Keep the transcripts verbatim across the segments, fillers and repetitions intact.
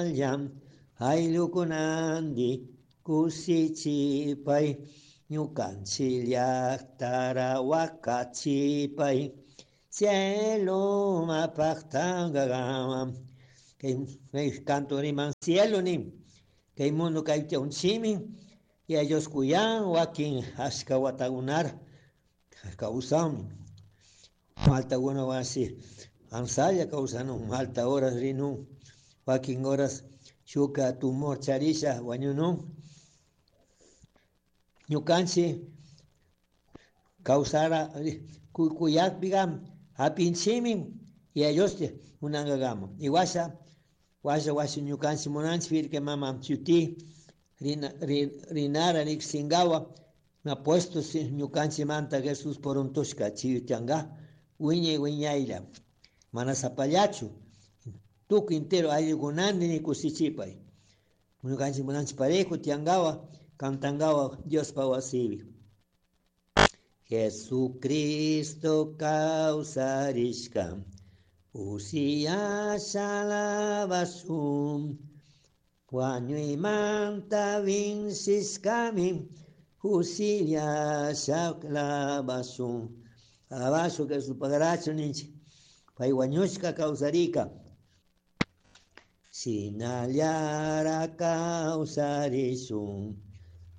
Tandalla ayllukunandi kusichipay ñukanchik llaqtara wakachipay cielo mapaqtangagama kay kay canto riman cielo nin kay mundo kay unchimi y ellos kuyan wakin ashka watakunara kawsanmi maltakuna wasi ansalla kawsanun malta horas rinun wakin horas shuka tumor charisha wañunun ñukanchik kawsara kuyakpiqa hapinchikmi y ellos munankakama y washa washa washa ñukanchik munanchik Virgen Mama shuti rina rinara riqsinkawa apuesto ñukanchikmanta Jesús puruntushka chiyuchanka wiñay wiñaylla mana sapallachu tukuy entero ayllukunandi kushichipay ñukanchik munanchik parejo tiyankawa cantankawa Diospa wasipi. Jesucristo kawsarishka usiyasha alabashun wañuymanta vincishkami kusiyasha alabashun alabashun Jesús pagarachu ninchik pay wañushka kawsarika shinallara kawsarishun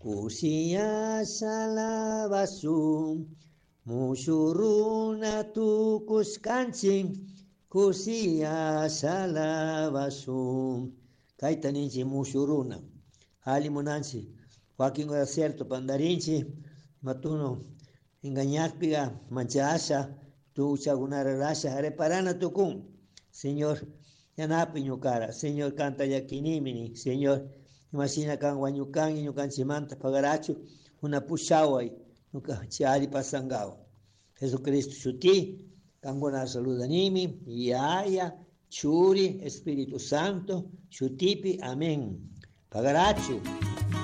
kusiyasha alabashun mushu runa tukushkanchik kusiyasha alabashun kayta ninchik mushu runa alli munanchik wakin cierto pandarinchik matuno engañakpiqa manchasha tuchakunara rasha reparana tukun Señor yanapi ñukara Señor kanta llakinimi nin Señor imashina kan wañukanki ñukanchikmanta pagarachu una pushaway ñukanchik alli pasankawa Jesucristo shuti kankuna saludanimi Yaya Churi Espíritu Santo shutipi amén pagarachu.